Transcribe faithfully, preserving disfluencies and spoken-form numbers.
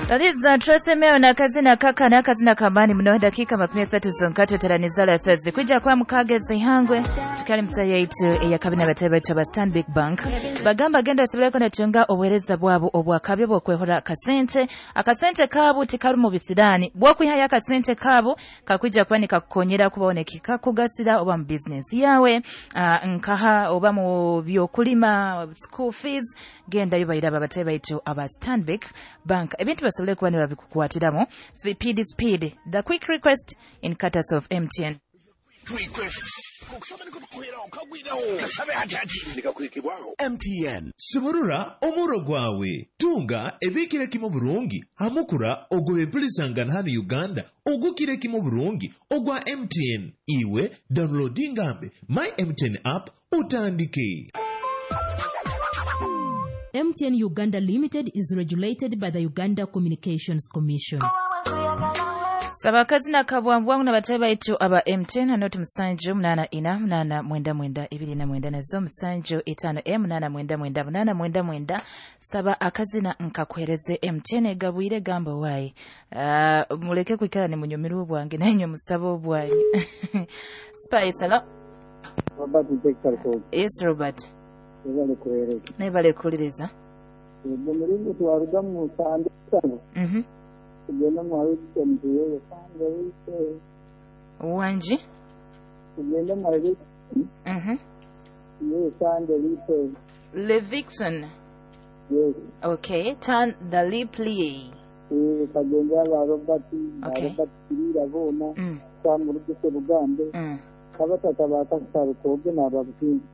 Laliza Tracy na kazina kaka na kazina kamani mno dakika makumi asatu zonka tweteranizala sazi kwijja kwa mukagezi ihangwe tukali msa yaitu eyakabina batebe baitu aba Stanbic Bank bagamba genda osobole natunga obuhereza bwabo obwakabyo bwokwehora akasente akasente kabu tikaru mu bisirani bwokwihaya akasente kabu kakwijja kuba nikakukonyera kuboneka kugasira oba mu business yawe uh, nkaha oba mu byokulima school fees genda yo bayiraba batebe baitu aba Stanbic Bank ebintu basobole kuba nibabikukwatiramu C P D speed the quick request in cutters of M T N. M T N Sumurura omuro gwawe tunga ebikire kimu burungi hamukura ogw'empulisangana hano Uganda ogukire kimu burungi ogwa M T N iwe downloadingambe my M T N app utandike. M T N Uganda Limited is regulated by the Uganda Communications Commission. Sabakazi na kabwambwangu na batebe baitu aba M T N hanoti musanju mnana ina mnana mwenda mwenda ibiri na mwenda nazo musanju itano e mnana mwenda mwenda mnana mwenda mwenda saba akazina nkakuhereze M T N gabwire gamba wai uh, muleke kwikala ni munyumiru bwange na inyo musabo bwanyu. Spice hello. Robert Victor. Yes Robert. Nebale kuliriza. Ego mulingo twaruga mu sande sano. Mhm. Tugenda mu harisi mtuye sande wise. Wanji? Tugenda mu harisi. Mhm. Ye sande wise. Levixon. Yes. Okay, turn the lip lie. Eh kagenda ba Robert. Okay. Robert kirira bona. Mm. Samuruge Rugambe. Mm. Kabatata bakasaro koge nababutinzi.